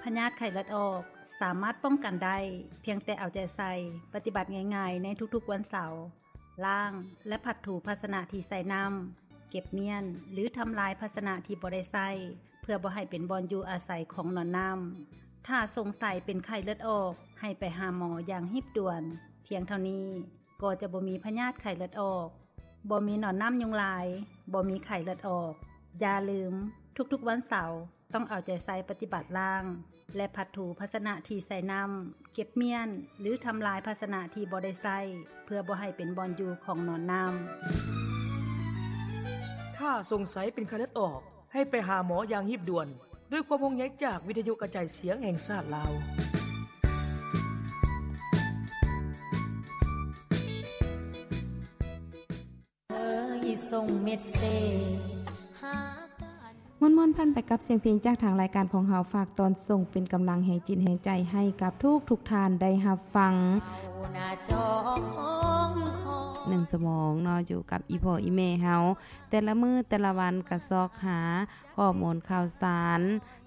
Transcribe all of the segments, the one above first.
ພະຍາດໄຂ້ເລືອດອອກສາມາດປ້ອງກັນໄດ້ ພຽງແຕ່ເອົາໃຈໃສ່ປະຕິບັດງ່າຍໆໃນທຸກໆວັນເສົາ, ລ້າງ ແລະ ພັດຖູພາຊະນະທີ່ໃສ່ນ້ຳ, ເກັບມ້ຽນ ຫຼື ທຳລາຍພາຊະນະທີ່ບໍ່ໄດ້ໃຊ້ ເພື່ອບໍ່ໃຫ້ເປັນບ່ອນຢູ່ອາໄສຂອງໜອນນ້ຳ. ຖ້າສົງໄສເປັນໄຂ້ເລືອດອອກ, ໃຫ້ໄປຫາໝໍຢ່າງຮີບດ່ວນ. ພຽງເທົ່ານີ້ກໍຈະບໍ່ມີພະຍາດໄຂ້ເລືອດອອກ, ບໍ່ມີໜອນນ້ຳຍຸງລາຍ, ບໍ່ມີໄຂ້ເລືອດອອກ. ຢ່າລືມ, ທຸກໆວັນເສົາ ຕ້ອງເອົາໃຈໃສ່ປະຕິບັດລ້າງ ແລະ ພັດຖູພາຊະນະທີ່ໃສ່ນ້ຳ, ເກັບມ້ຽນ ຫຼື ທຳລາຍພາຊະນະທີ່ບໍ່ໄດ້ໃຊ້ ເພື່ອບໍ່ໃຫ້ເປັນບ່ອນຢູ່ຂອງໜອນນ້ຳ. ຖ້າສົງໄສເປັນໄຂ້ເລືອດອອກ, ໃຫ້ໄປຫາໝໍຢ່າງຮີບດ່ວນ. ດ້ວຍຄວາມຫ່ວງໃຍຈາກວິທະຍຸກະຈາຍສຽງແຫ່ງຊາດລາວ. ມ່ວນໆພັນໄປກັບສຽງເພງຈາກທາງລາຍການຂອງເຮົາ, ຝາກຕອນສົ່ງເປັນກຳລັງແຮງຈິດແຮງໃຈໃຫ້ກັບທຸກໆທ່ານໄດ້ຮັບຟັງ. ໜຶ່ງຊົ່ວໂມງເນາະ, ຢູ່ກັບອີ່ພໍ່ອີ່ແມ່ເຮົາ ແຕ່ລະມື້ແຕ່ລະວັນກະຊອກຫາຂໍ້ມູນຂ່າວສານ,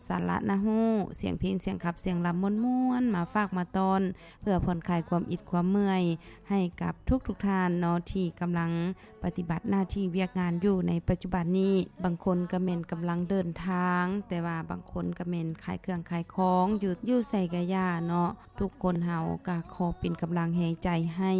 ສາລະໜ້າຮູ້, ສຽງເພງ, ສຽງຂັບ, ສຽງລຳມ່ວນໆ ມາຝາກມາຕ້ອນ ເພື່ອຜ່ອນຄາຍຄວາມອິດຄວາມເມື່ອຍໃຫ້ກັບທຸກໆທ່ານເນາະ ທີ່ກຳລັງປະຕິບັດໜ້າທີ່ວຽກງານຢູ່ໃນປັດຈຸບັນນີ້. ບາງຄົນກະແມ່ນກຳລັງເດີນທາງ, ແຕ່ວ່າບາງຄົນກະແມ່ນຂາຍເຄື່ອງຂາຍຂອງ ຢູ່ ຢູ່ໃສກະຢ່າເນາະ, ທຸກຄົນເຮົາກະຂໍເປັນກຳລັງແຮງໃຈໃຫ້,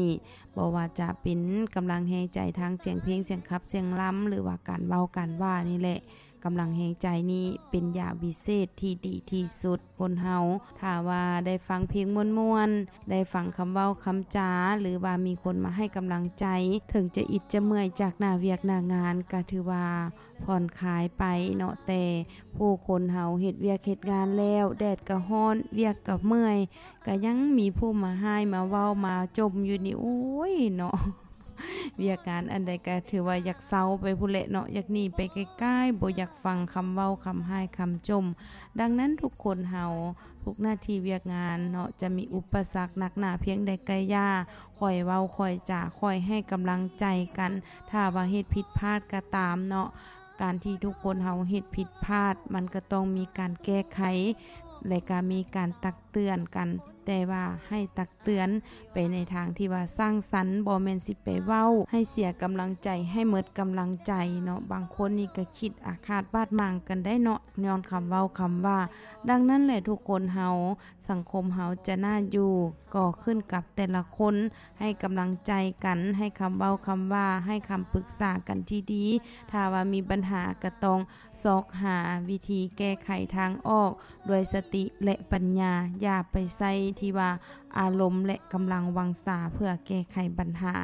ບໍ່ວ່າຈະເປັນກຳລັງແຮງໃຈທາງສຽງເພງ, ສຽງຂັບ, ສຽງລຳ ຫຼືວ່າການເວົ້າການວ່ານີ້ແຫຼະ. ກຳລັງແຮງໃຈນີ້ເປັນຢາວິເສດທີ່ດີທີ່ສຸດ. ຄົນເຮົາຖ້າວ່າໄດ້ຟັງເພງມ່ວນໆ, ໄດ້ຟັງຄຳເວົ້າຄຳຈາ ຫຼືວ່າມີຄົນມາໃຫ້ກຳລັງໃຈ, ເຖິງຈະອິດຈະເມື່ອຍຈາກໜ້າວຽກໜ້າງານ ກະຖືວ່າຜ່ອນຄາຍໄປເນາະ. ແຕ່ຜູ້ຄົນເຮົາເຮັດວຽກເຮັດງານແລ້ວ, ແດດກະຮ້ອນ, ວຽກກະເມື່ອຍ, ກະຍັງມີຜູ້ມາຮ້າຍມາເວົ້າມາຈົ່ມຢູ່ນີ້, ໂອ້ຍເນາະ. ວຽກງານອັນໃດກະຖືວ່າຢາກເຊົາໄປພຸ້ນແຫຼະເນາະ, ຢາກໜີໄປໄກໆ, ບໍ່ຢາກຟັງຄຳເວົ້າຄຳຮ້າຍຄຳຈົ່ມ. ດັ່ງນັ້ນທຸກຄົນເຮົາ ທຸກໜ້າທີ່ວຽກງານເນາະ ຈະມີອຸປະສັກໜັກໜາພຽງໃດກະຢ່າ, ຄ່ອຍເວົ້າຄ່ອຍຈາ, ຄ່ອຍໃຫ້ກຳລັງໃຈກັນ. ຖ້າວ່າເຮັດຜິດພາດກະຕາມເນາະ, ການທີ່ທຸກຄົນເຮົາເຮັດຜິດພາດ ມັນກະຕ້ອງມີການແກ້ໄຂ ແລະກະມີການຕັກເຕືອນກັນ, ແຕ່ວ່າໃຫ້ຕັກ ເຕືອນໄປໃນທາງທີ່ວ່າສ້າງສັນ, ບໍ່ແມ່ນຊິໄປເວົ້າໃຫ້ເສຍກຳລັງໃຈ, ໃຫ້ໝົດກຳລັງໃຈເນາະ. ບາງຄົນນີ້ກະຄິດອາຄາດບາດໝາງກັນໄດ້ເນາະ, ຍ້ອນຄຳເວົ້າຄຳວ່າ. ດັ່ງນັ້ນແຫຼະ ທຸກຄົນເຮົາ, ສັງຄົມເຮົາຈະໜ້າຢູ່ ກໍຂຶ້ນກັບແຕ່ລະຄົນ, ໃຫ້ກຳລັງໃຈກັນ, ໃຫ້ຄຳເວົ້າຄຳວ່າ, ໃຫ້ຄຳປຶກສາກັນທີ່ດີ. ຖ້າວ່າມີບັນຫາກະຕ້ອງ ຊອກຫາວິທີແກ້ໄຂທາງອອກດ້ວຍສະຕິ ແລະ ປັນຍາ, ຢ່າໄປໃຊ້ທີ່ວ່າອາລົມ ແລະ ກຳລັງວັງຊາເພື່ອແກ້ໄຂບັນຫາ.